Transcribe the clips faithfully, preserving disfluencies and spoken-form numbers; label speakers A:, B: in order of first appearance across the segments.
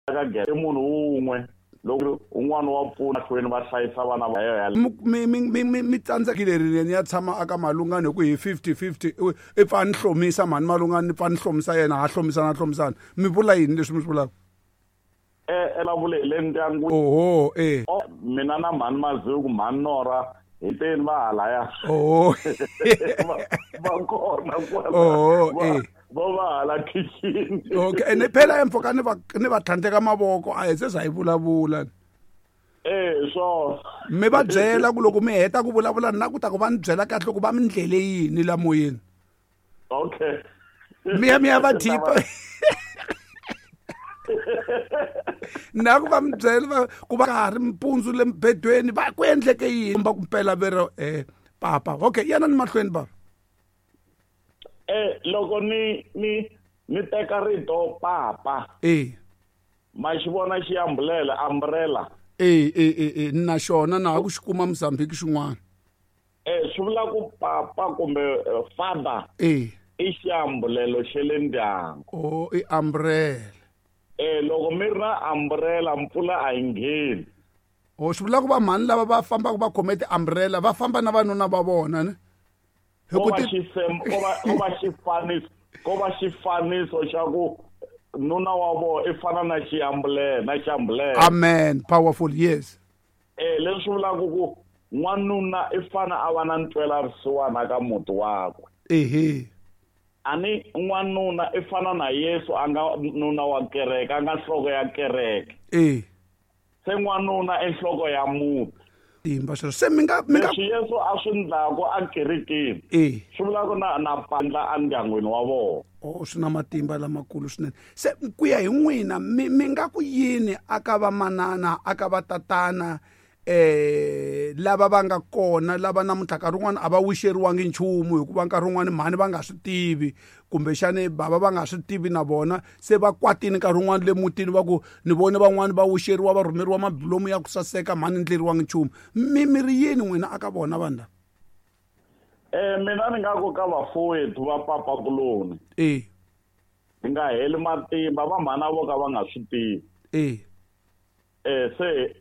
A: Ka gere i munhu wun'we loko un'wana wa pfuna hlweni va hlayisa vana va yena.
B: Mi mi mi mi tsandzekile rini ni ya tshama aka Malungani hi ku hi fifty fifty i pfa ni hlomisa mhani Malungani ni pfa ni hlomisa yena ha hlomisana hlomisana mi vula yini leswi mi swi vulaka?
A: Eh elavule le ndyangu.
B: Oho eh
A: mina na mhani Maziku mhani Nora hi teni va halaya.
B: Oho
A: va kona kwala.
B: Oho eh
A: vo va hala kitchen.
B: Okay ene phela empfoka ni va ni va tlhandleka mavoko a hi se za hi vulavula.
A: Eh so
B: mi va byela ku loko mi heta ku vulavula na ku ta ku va ni byela kahle ku va mi ndlele yini la moyeni.
A: Okay
B: mi ya mi ya va thipa na ku va mi byela ku va ka ri mpundzu le mbedweni va ku endleke yini va ku mpela vero eh papa. Okay yana ni mahlweni baba.
A: Eh loko ni ni ni teka rito papa
B: eh
A: ma xi vona xi umbrella umbrella
B: eh eh eh na xona na ku xi kuma Mozambique xin'wana
A: eh swi vula ku papa kumbe father
B: eh
A: i xiambulelo xe le ndyangu.
B: Oh i umbrella
A: eh loko mi ri na umbrella mpfula a yi ngheni.
B: Oh swi vula ku va mhani lava va fambaka va khome ti-umbrella va famba na vanuna va vona ne?
A: Ko va xisem ko va ko va xifaniso ko va xifaniso xa ku nuna wa vona i fana na xiambulela na xiambulela.
B: Amen powerful yes.
A: Eh leswi vulaka ku n'wanuna i fana a va na ntwela risiwana ka muti wakwe.
B: Ehe
A: ani n'wanuna i fana na Yesu a nga nuna wa kereke a nga nhloko ya kereke.
B: Eh
A: se n'wanuna i nhloko ya muti.
B: Timba sweswo se mi nga mi nga
A: leswi Yesu a swi ndlaku a kerekeni
B: eh
A: swi vula ku na na pandla endyangwini wa vona.
B: Oh swi na matimba lamakulu swinene. Se ku ya hi n'wina mi mi nga ku yini aka va manana aka va tatana eh lava va nga kona lava namuntlha nkarhi wun'wana a va wixeriwangi nchumu hikuva nkarhi wun'wana mhani va nga swi tivi kumbexani bava va nga swi tivi na vona se va kwatini nkarhi wun'wana le mutini va ku ni vone van'wani va wixeriwa va rhumeriwa mabilomu ya ku saseka mhani ndleriwangi nchumu mi mi ri yini n'wina aka vona vanhu lava?
A: Eh mina ni nga ku ka vafowethu va papakuloni
B: eh
A: hi nga heli matimba va mhana vo ka va nga swi tivi.
B: Eh
A: eh se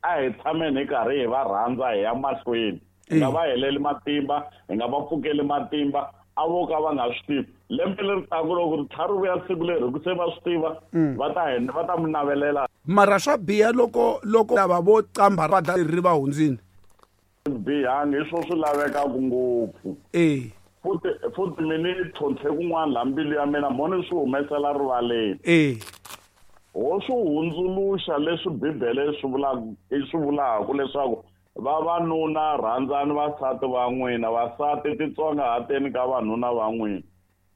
A: a hi tshameni hi karhi hi va rhandza hi ya mahlweni hi nga va heleli matimba hi nga va pfukeli matimba a vo ka va nga swi tivi. Lembe leri taku loko ri tlha ri vuya siku leri ku se va swi tiva va ta hi va ta mi navelela.
B: Mara swa biha loko loko lava vo qamba va dla ri va hundzini
A: bihangi hi swo swi lavekaka ngopfu.
B: Eh
A: futhi futhi mi ni tlhontlhe kun'wana laha mbilu ya mina mo ni swi humesela rivaleni.
B: Eh
A: ho swi hundzuluxa leswi Bibele swi vulaka i swi vulaka leswaku vavanuna rhandzani vasati va n'wina vasati titsongahateni ka vanuna va n'wina.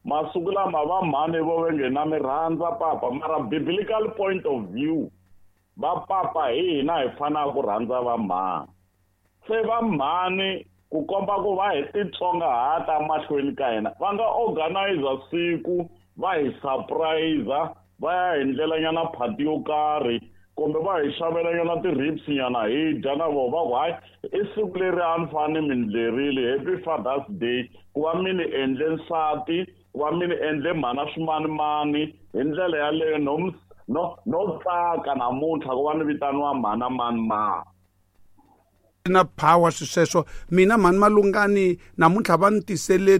A: Masiku lama va mhani vo ve nge na mi rhandza papa mara biblical point of view va papa hi hina hi fanaka ku rhandza va mhani. Se va mhani ku komba ku va hi titsongahata mahlweni ka hina va nga organize siku va hi surprise va ya hi ndlelanyana phati yo karhi kumbe va hi xavelanyana ti-ribs nyana hi dya na vona va ku hayi i siku leri a ni fane mi ndlerile happy Father's Day ku va mi ni endle nsati ku va mi ni endle mhana swimanimani hi ndlela yaleyo no no no tsaka namuntlha ku va ni vitaniwa mhana mani mani.
B: Na power swi sweswo mina mhani Malungani namuntlha va ni tisele